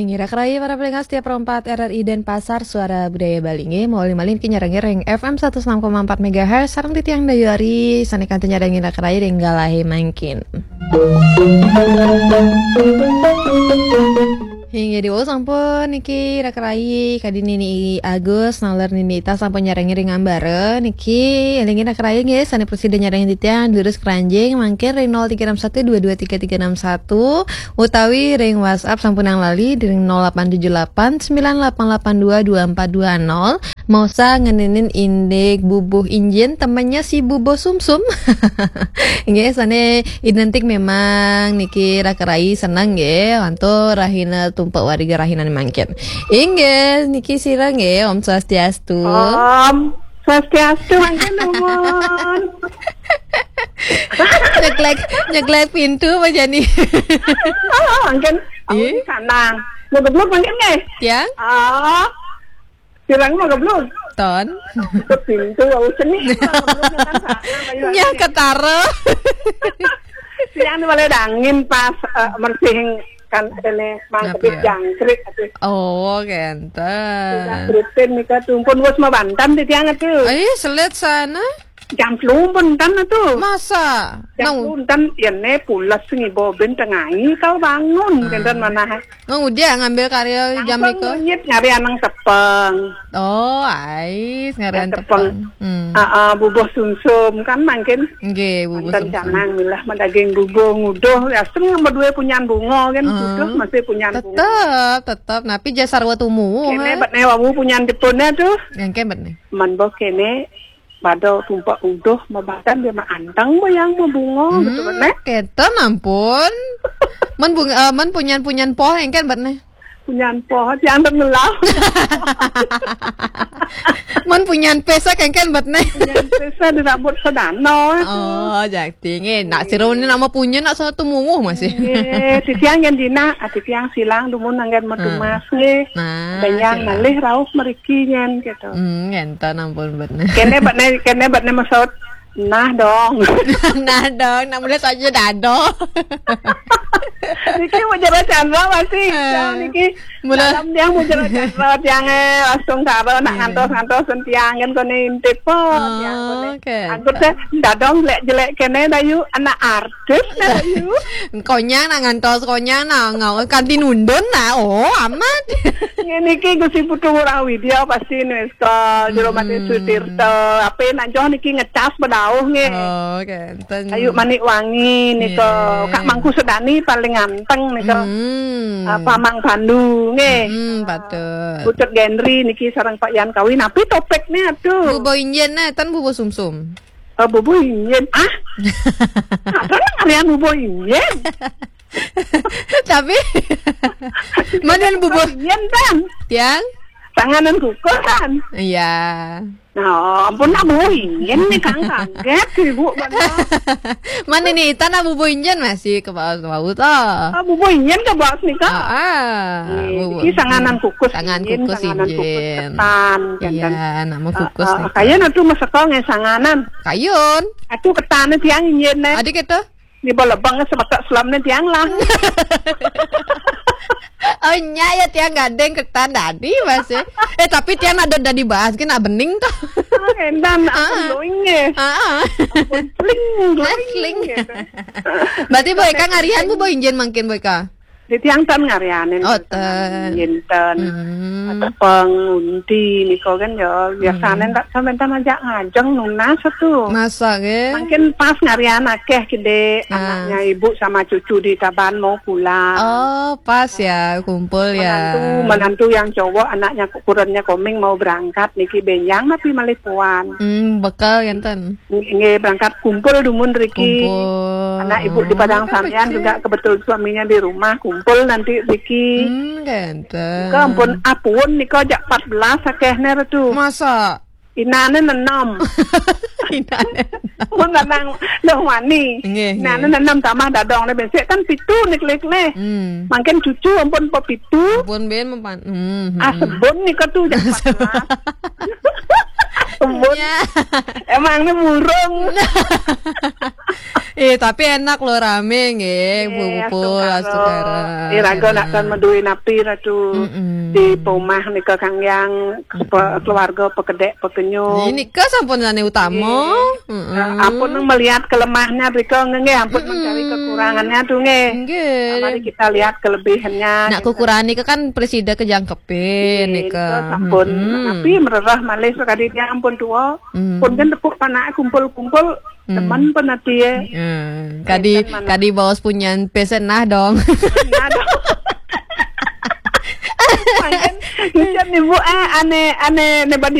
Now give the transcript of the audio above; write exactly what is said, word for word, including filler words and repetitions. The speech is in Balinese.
Ngirak rai para pendengar setia Pro empat R R I Denpasar, Suara Budaya Bali nggih, malih-malih niki nyarengi ring F M satus enam koma empat megahertz, sareng titiang Dayu Ari, sane kantun nyarengi ngirak rai ring galahe mangkin. Inggih, diwau sampun niki ngirak rai, kadi Nini Agus, naler Nini Ita sampun nyarengi ring ambara, niki elingi ngirak rai nggih, sane prasida nyarengi titiang, durus kranjing, mangkin ring nol tiga enam satu dua dua tiga tiga enam satu, utawi ring WhatsApp sampunang lali ring nol delapan tujuh delapan sembilan delapan delapan dua dua empat dua nol. Maosang ngeninin indik bubuh injin, temennya si bubuh sumsum. Nggih, sane identik memang niki ngirak rai seneng nggih, antuk rahina tumpek wargi rahinane mangkin. Inggih, niki sira nggih, Om Swastiastu. Om Swastiastu, mangkin nuwun. Nyeklek, nyeklek pintu apa jani? Oh, mangkin aku Ih. Di sana. Ngeblok mangkin nggih. Tiang? Oh. Sirang mah geblok. Ton. Pintu aku seni. Nyah ketara. Tiang ni boleh dangin pas eh, mersih kan ini mangkepit Apa? Jangkrik atuh. Oh, kenten. Rutin nika tumpun wis mabanten di tiang atuh. Ai, selet sana. Jam telu pun kan atuh. Masa? Jam Nang telu kan ya ne pulas ngibo ben tengai kau bangun kenten mana. Nang udah ngambil karya jam Langsung nika. Nyit ngari anang tepeng. Oh, ais ngarian Tepeng. Tepeng. Hmm. Ah, ah, bubuh sumsum kan mangkin. Nggih, bubuh Mantan sumsum. Canang milah madaging bubuh nguduh. Asem yang berdua punyan bunga kan Ah. Nguduh masih punyan bunga. Tetep, tetep. Napi jasa sarwa tumuwuh, Kene ha? Bet ne wawu punyan jepun tuh. Yang kebet nih. Man boh kene pada tumpak uduh mabatan dia mah anteng boh yang mabunga gitu kan, Hmm, eh? Keten ampun. Man bunga, eh, man punyan-punyan poh engken bet nih. Punyan poh, jangan ngelau. Man punyan pesa engken bet nih. Punyan pesa dirambut sedana. Oh, jakti nggih. Nak sira ni nama punya nak satu munguh masih. Nggih, titiang yang dina, ah, titiang silang dumun anggen medumas nggih. Nah, Danyang silang. Malih rauh meriki nyen gitu. Hmm, ngenten ampun bet nih. Kene bet ne, kene bet ne maksud nah dong. Nah dong, nak mulai saja dado. Niki mau jalan Chandra masih. Eh. Jauh niki. Mula Dalam tiang mau jalan Chandra tiang eh langsung karo nak Eh. Ngantos-ngantos tiang kan kone intip po. Oh, tiang kone. Oke. Angkut teh dadong jelek-jelek kene dayu anak artis nah dayu. Konyang nak ngantos konyang nak ngau kanti nundun nak. Oh, amat. Ngene iki Gusti Putu Ngurah Widya pasti nulis ka Jero Mati Mm-mm. Sutirta. Apa nak joh niki ngecas bedauh nggih. Oh, oke. Ten- Ayu Manik Wangi nika. Nggih. Kak Mangku Sedani paling ganteng nika. Hmm. Apa Mang Pandu nggih. Hmm, patut. Putut Gendri niki sareng Pak Yan Kawi. Napi topiknya aduh? Bubo injen nah, tan bubo sumsum. Oh, bubo injen. Ah. Apa nang kalian bubo injen? Tapi mana bubo injen tan? Tiang? Tanganan kukusan. Iya. Nah, ampun nak bubuh injen nih kang kaget ibu bener. Mana nih tanah bubuh injen masih ke bawah ke bawah toh. Ah, bubuh injen ke bawah nih kak. Ah, ah, Nih, bubuh. Ini sanganan kukus Tangan injen, kukus sanganan kukus injen. Ketan, Iya, jantan. Nama Ah, kukus ah, nih. Kayun atuh masakong ya sanganan. Kayun. Atuh ketan tiang injen nih. Adik itu. Di balebang semetak selam nih tiang lah. Oh, nya ya tiang gadeng ketan tadi masih. Eh, tapi tiang ada dari bahas kena bening tuh. Ah, endan Ah. Apa glowing ya? Ah, ah. Ampun, fling, glowing Fling. Gitu. Berarti boy kan ngarian bu boy injen mangkin boy ka. Di tiang tan ngarianin Oh, ten. Injen tan. Hmm. Atau pengunti niko kan ya biasanya Hmm. Tak sampai tan ajak ngajeng nunas tuh. Masa ke? Mungkin pas ngarian akeh kide Ah. Anaknya ibu sama cucu di Taban mau pulang. Oh, pas ya kumpul ya. Menantu, menantu yang cowok anaknya ukurannya koming mau berangkat niki benjang tapi malih puan. Hmm, bekal ngenten. Nggih berangkat kumpul dumun Riki. Kumpul. Anak ibu di Padang Oh, Sampian kecil. Juga kebetulan suaminya di rumah kumpul nanti Riki. Hmm, ngenten. Ke ampun apun nika jak empat belas akeh ner tu. Masa? Inane nenom. Inane. Mun lanang loh wani. Nggih, Inane nggih. Nenom tambah dadong ne besek kan pitu nih klik nih. Hmm. Mungkin cucu ampun pepitu. Ampun ben mempan. Hmm, hmm, Ah hmm. Sebun nih ketu jak empat belas. Kebun. Ya. Emang ini burung. Eh, tapi enak loh, rame nggih, Bu Pupul, astu karep. Iraga nak kan madué napi, Ratu. Mm-mm. Di pomah nika kanggiang keluarga pekedek pekenyung. Nika sampun sané utama. Heeh. Ampun melihat kelemahannya rika nggih, ampun mencari kekurangannya tuh nggih. Nggih. Mari kita lihat kelebihannya. Nak kekurangan nika kan presida kejangkepin nika. Sampun. Tapi mererah malih sakadi dia ampun tua. Pun kan tepuk panak kumpul-kumpul teman pun ati ya. Kadi kadi baos punyan pesen nah dong. Nah, dong. Mangkin, mangkin ibu ah ane ane ne badi